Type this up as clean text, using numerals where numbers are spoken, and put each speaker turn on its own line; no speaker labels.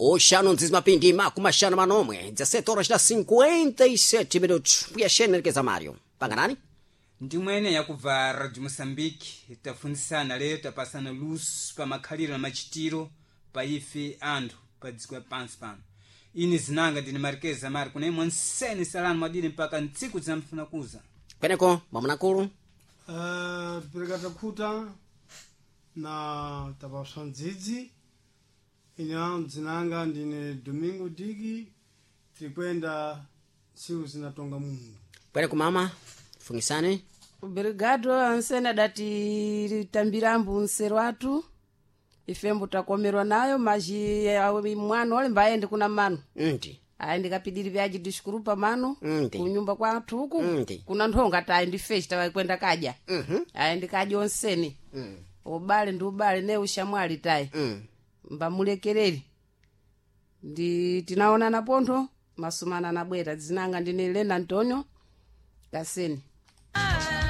Oxano nzizimapindi makumaxano manomwe 17 horas na 57 minutos. Mbuya Marques Mário. Panganani?
Ndimwene yakubva Radio Moçambique, tafunzisana lero, tapasana luso pa makhaliro na machitiro pa ife anthu pa dziko pansi pano. Ine zinanga ndine Marques Amari, kuna imwe nsene salani mwadini mpaka ntsiku zinamfuna kuza.
Kweneko mwamunakulu.
Pereka takhuta na tapaswa mdzidzi. Ine mdzinanga ndine Domingo Diki, tirikwenda tsiku zinatonga Mungu.
Kweneko mama fungisane.
Obrigado ansene adati tambirambu nsero atu ifembo takomerwa nayo maji mwana ole mbaende kuna mano.
Nti.
Ayi ndikapidiri vyaji diskurupa mano.
Nti.
Kunyumba kwathu uku.
Nti.
Kuna nthonga tayi ndifeshi tawakwenda kadya. Ayi ndikadya onseni. Ubale ndi ubale ne ushamwali tayi. Mbamulekereri ndi tinaonana pontho masumana anabwera. Dzinanga ndine Lena Antonio Kaseni.